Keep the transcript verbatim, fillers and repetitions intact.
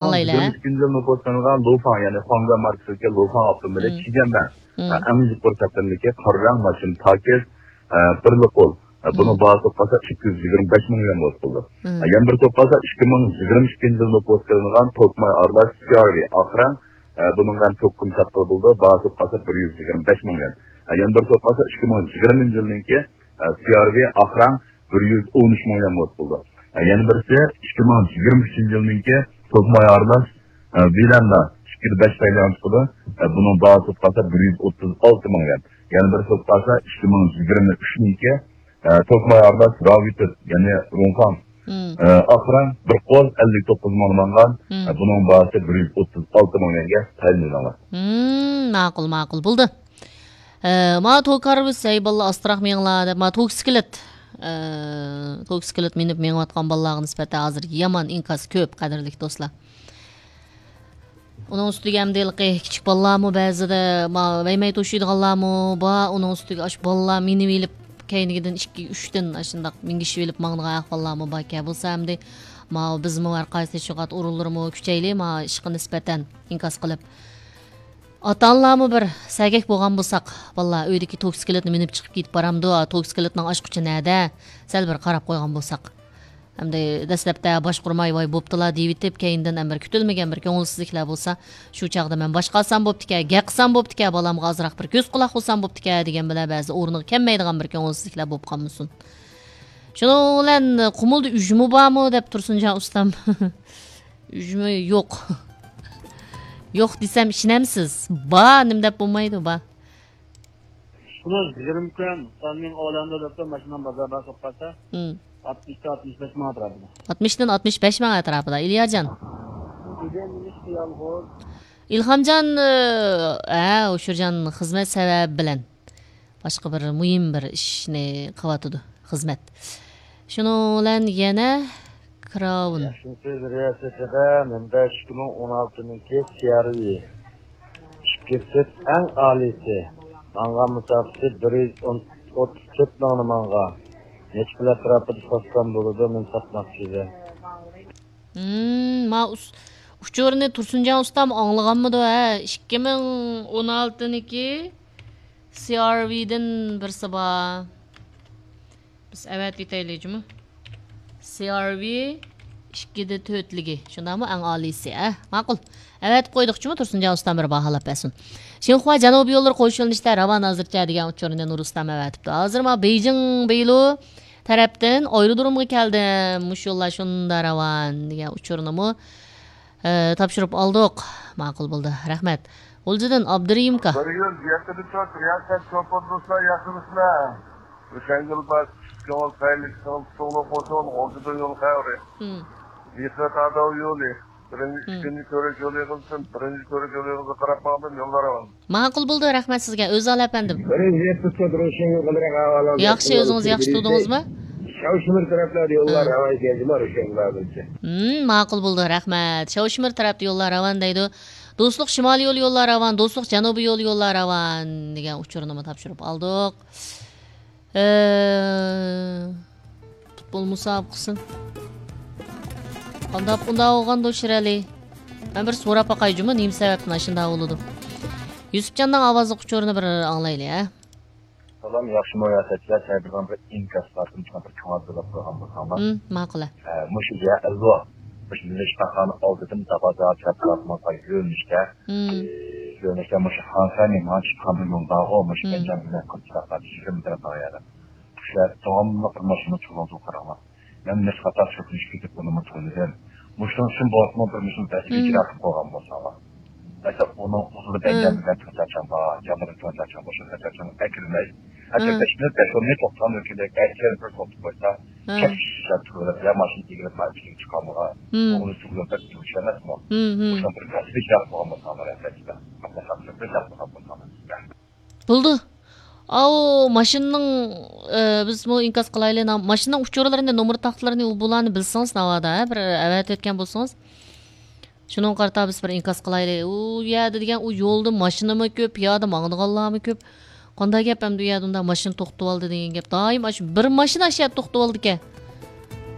ئاڭلايلى. يىگىرمە ئىككىنچى يىل نوپۇسلانغان لۇفاڭ، يەنى خۇاڭگا ماركىسىدىكى لۇفاڭ ئاپتوموبىلى مم. چىگەنمەن. مم. ئەڭ يۇقىرى سەپلىمىدىكى قارا رەڭ ماشىنا تاكىز، بىرلا قول. بۇنىڭ مم. باھاسى بولۇپ قالسا ئىككى يۈز يىگىرمە بەش مىڭ يۈەن بولۇپ قالدى. مم. يەنە بىرسى بولۇپ قالسا ئىككى مىڭ يىگىرمە ئىككىنچى يىل نوپۇسلانغان توكماي ئارىلاش سى ئار ۋى ئاق رەڭ. بۇنىڭغا ھەم توك قىممەت قىلىپ بولىدۇ. باھاسى بولۇپ قالسا بىر يۈز يىگىرمە بەش مىڭ يۈەن. يەنە بىرسى بولۇپ قالسا ئىككى مىڭ يىگىرمىنچى يىلنىڭكى سى ئار ۋى ئاق رەڭ بىر يۈز ئون ئۈچ مىڭ يۈەن بولۇپ قالدى. يەنە بىرسى ئىككى مىڭ يىگىرمە ئۈچىنچى يىلنىڭكى توكماي ئارىلاش ۋىلاندا ئىككىدە بەش سايلان چىقىدۇ. بۇنىڭ باھاسى بولۇپ قالسا بىر يۈز ئوتتۇز ئالتە مىڭ يۈەن. يەنە بىرسى بولۇپ قالسا ئىككى مىڭ يىگىرمە ئۈچنىڭكى توكماي ئارىلاش راۋىتىد، يەنى روڭفاڭ مم. ئاق رەڭ بىر قول ئەللىك توققۇز مىڭ ماڭغان. مم. بۇنىڭ باھاسى بىر يۈز ئوتتۇز ئالتە مىڭ يۈەنگە تەيىنلىنىڭلار. مم، ماقۇل، ماقۇل. بولدى. ئە، ما توك ھارۋىسى، ئەي بالىلار، ئاستىراق مېڭىڭلار دەپ، ما توك سكلېت، ئە، توك سكلېت مىنىپ مېڭىۋاتقان بالىلارغا نىسبەتەن ھازىر يامان ئىنكاس كۆپ، قەدىرلىك دوستلار. ئۇنىڭ ئۈستىگە ئەمدى ھېلىقى كىچىك بالىلارمۇ بەزىدە، ما، ۋەيمەي توشۇيدىغانلارمۇ بار. ئۇنىڭ ئۈستىگە ئاشۇ بالىلار مىنىۋېلىپ، كەينىگىدىن ئىككى، ئۈچتىن ئاشۇنداق مىنگىشىۋېلىپ ماڭىدىغان ئەھۋاللارمۇ باركەن. بولسا ئەمدى، ما، بىزمۇ ھەر قايسى تەشۋىقات ئورۇنلىرىمۇ كۈچەيلى، ما، ئىشقا نىسبەتەن ئىنكاس قىلىپ. ئاتا-ئانىلارمۇ بىر سەگەك بولغان بولساق، بالىلار ئۆيدىكى توك سكلېتنى مىنىپ چىقىپ كېتىپ بارامدۇ، توك سكلېتنىڭ ئاچقۇچى نەدە؟ سەل بىر قاراپ قويغان بولساق. ئەمدى دەسلەپتە باشقۇرماي، ۋاي بوپتىلا دېيىۋېتىپ، كەينىدىن ھەم بىر كۈتۈلمىگەن بىر كۆڭۈلسىزلىكلەر بولسا، شۇ چاغدا مەن باشقا ئالسام بوپتىكەن، گەپ قىلسام بوپتىكەن، بالامغا ئازراق بىر كۆز قۇلاق بولسام بوپتىكەن دېگەن بىلەن بەزى ئورنىغا كەلمەيدىغان بىر كۆڭۈلسىزلىكلەر بولۇپ قالمىسۇن. شۇنىڭ بىلەن قۇمۇلدا ئۈجمە بارمۇ دەپ تۇرسۇنجان ئۇستام. ئۈجمە يوق. يوق دېسەم ئىشىنەمسىز؟ بار، نېمە دەپ بولمايدۇ، بار. شۇنىڭ يىگىرمە كۈن سالنىڭ ئولەندە دەپتۇ، ماشىنام بازاردا سوققانسا. مم. ئاتمىشتىن ئاتمىش بەش مىڭ ئەتراپىدا. ئاتمىشتىن ئاتمىش بەش مىڭ ئەتراپىدا، ئىلياجان. بۈگۈن نېمىشقا يالغۇز؟ ئىلھامجان، ئە، ئۇچۇرجان خىزمەت سەۋەبى بىلەن باشقا بىر مۇھىم بىر ئىشنى قىلىۋاتىدۇ، خىزمەت. شۇنىڭ بىلەن يەنە كىراۋۇن. ياخشىمۇسىز رىياسەت ھەدە، مەنبە ئىككى مىڭ ئون ئالتىنىڭكى سى ئار ۋى. ئىككى سۈت ئەڭ ئالىيسى. ماڭغان مۇساپىسى بىر يۈز ئوتتۇز تۆت مىڭنى ماڭغان. نەچچە پۇل ئەتراپىدا ساتسام بولىدۇ، مەن ساتماقچى ئىدىم. ھىم، ما ئۇس-، ئۇچۇرنى تۇرسۇنجان ئۇستام ئاڭلىغانمىدۇ، ھە؟ ئىككى مىڭ ئون ئالتىنىڭكى سى ئار ۋىدىن بىرسى بار. بىز ئەۋەتىۋېتەيلى جۇمۇ. سى ئار ۋى ئىككىدە تۆتلۈكى. شۇنداقمۇ؟ ئەڭ ئالىيسى، ئە؟ ماقۇل. ئەۋەتىپ قويدۇق جۇمۇ، تۇرسۇنجان ئۇستام بىر باھالاپ بەرسۇن. شىنخۇا جەنۇبىي يوللىرى قوشۇلۇنۇشتا راۋان ھازىرچە دېگەن ئۇچۇرنى نۇرۇسلام ئەۋەتىپتۇ. ھازىر ما بېيجىڭ بېيلۇ تەرەپتىن ئايرودرومغا كەلدىم. مۇشۇ يوللار شۇنداق راۋان دېگەن ئۇچۇرنىمۇ ئە، تاپشۇرۇپ ئالدۇق. ماقۇل بولدى. رەھمەت. غۇلجىدىن ئابدۇرېھىمكا. بىر يۈز يەتتە تۆت رىياسەت شوپۇر دوستلار، ياخشىمۇسىلەر؟ ئۆشەڭگۈل بار، كۆڭۈل خەيرلىك، كۆڭۈل تۇتۇقلۇق بولسۇن، غۇلجىدىن يول خەۋىرى. ھىم. مېھرى تاداۋ يولى، بىرىنچى، ھىم. ئىككىنچى كۆۋرۈك يولىغا، بىرىنچى كۆۋرۈك يولىغا قاراپ ماڭدىم، يوللار ئامان. ماقۇل بولدى، رەھمەت سىزگە، ئۆزال ئەپەندىم. بىرىنچى يەتتە تۆت روشەن يول قىلىرەك ئەھۋالىڭىز ياخشى، ئۆزىڭىز ياخشى تۇردىڭىزمۇ؟ شاۋشىمىر تەرەپلەردە يوللار ھە. راۋان كەلدىمۇ روشەن بارمىزچە؟ ھىم، ماقۇل بولدى، رەھمەت. شاۋشىمىر تەرەپتە يوللار راۋان دەيدۇ. دوستلۇق شىمالىي يول يوللار راۋان، دوستلۇق جەنۇبىي يول يوللار راۋان دېگەن ئۇچۇرنىمۇ تاپشۇرۇپ ئالدۇق. ئە، پۇتبول مۇسابىقىسى. قانداق ئۇنداق بولغاندۇ شىرئەلى؟ مەن بىر سوراپ باقاي جۇمۇ، نېمە سەۋەبتىن ئاشۇنداق بولىدۇ؟ يۈسۈپجاننىڭ ئاۋازلىق ئۇچۇرىنى بىر ئاڭلايلى، ھە؟ سالام، ياخشىمۇ رىياسەتچىلەر؟ سەن بىر ئىنكاس بار، شۇنى بىر كۆڭۈل بۆلۈپ قويغان بولساڭلار. ھىم، ماقۇل. ئە، مۇشۇ يەرلۇ، مۇشۇ مىللىي شىپاخانا ئالدىدىن تاپا تەرەپ تارافىمىزغا يۆنىلىشتە، ھىم. يۆنىلىشتە مۇشۇ خانسەنى مانا چىققان بىر يول بارغۇ، مۇشۇ مم. بەنجامىن بىلەن قىلچىلىقلاردا يۈز يىگىرمە مېتىر قالغان يەردە. كىشىلەر داۋاملىق بىر ماشىنا چۇۋالدۇرۇپ قاراڭلار. مەن نەچچە قاتار سۆكۈنۈشكە كېتىپ ئۇنىمۇ تونۇدۇم. مۇشۇنىڭ ئۈچۈن بولسىمۇ بىر مۇشۇ ۋەزىپە مم. ئىجرا قىلىپ قويغان بولساڭلار. مەسىلەن، ئۇنىڭ ئۇدۇلى مم. بەنجامىن بىلەن تۆت چاچان بار، جانلىرى تۆت چاچان بار، شۇ تۆت چاچانغا ئەكىرمەي. ھەتتا مم. بەش مىنۇت، بەش ئون مىنۇت توختىغان ئۆكۈنەك، ئەكىرىپ بىر توختىتىپ قويسا، مم. كەپ كىشىلەر تۇرۇپ، يا ماشىنا ئېگىلىپ، مانا ئىچىگە چىقالمىغان. مم. ئۇنى سۈرگۈن بەك يۇمشاق ئەمەسمۇ؟ مم، مم. مۇشۇنىڭ بىر ۋەزىپە ئىجرا قىلغان بولساڭلار، ئەلۋەتتە. مەسىلەن، بىر گەپ قىلغان بولساڭلار سىزگە. بولدى. ئاۋۇ ماشىنىنىڭ، ئە، بىزمۇ ئىنكاس قىلايلى. نام-، ماشىنىنىڭ ئۇچۇرلىرىنى، نومۇر تاختىلىرىنى، ئۇ بۇلارنى بىلسىڭىز ناۋادا، ھە، بىر ئەۋەتىۋەتكەن بولسىڭىز. شۇنىڭغا قارىتا بىز بىر ئىنكاس قىلايلى. ئۇ يەردە دېگەن ئۇ يولدا ماشىنىمۇ كۆپ، پىيادە ماڭىدىغانلارمۇ كۆپ. قانداق گەپ ئەمدى ئۇ يەردە ئۇنداق ماشىنا توختىتىۋالدى دېگەن گەپ. دائىم ئاشۇ بىر ماشىنا ئاشۇ يەردە توختىتىۋالىدىكەن.